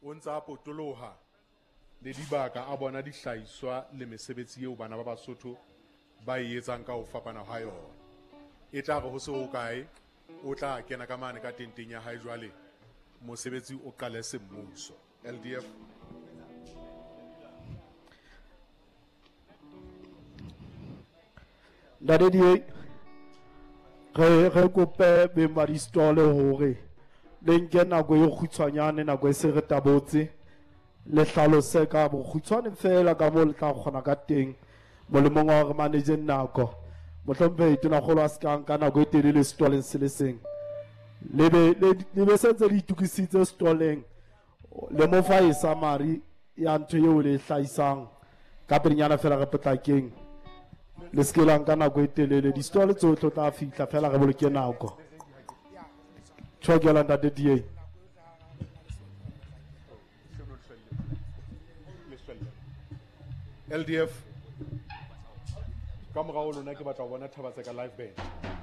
O ntse a potoloha le dibaka a bona dihlahiswa le mesebetsi eo bana ba Basotho ba e etsang ka ho fapana ha yona. E tla re ho se hokae o tla kena ka mane ka tenteng ya hae jwale mosebetsi o qale semmuso. LDF. Ntate DA, re kope beng ba di-stall hore le nke nako e kgutshwanyane, nako e se re tabotse, le hlalose ka bokgutshwane fela ka moo le tla kgona ka teng, molemong wa hore manage nako. Mohlomphehi Tonakgolo a se ka nka nako e telele stoleng se le seng. Le be sentse le itukisitse stoleng, le mo fa e summary ya ntho eo le e hlahisang ka pelenyana fela re potlakeng. Le se ke la nka nako e telele, di-stall tsohle o tla fihla fela re boloke nako. Tjhokela ntate DA. LDF, ka morao lona ke batla ho bona Thaba Tseka live band.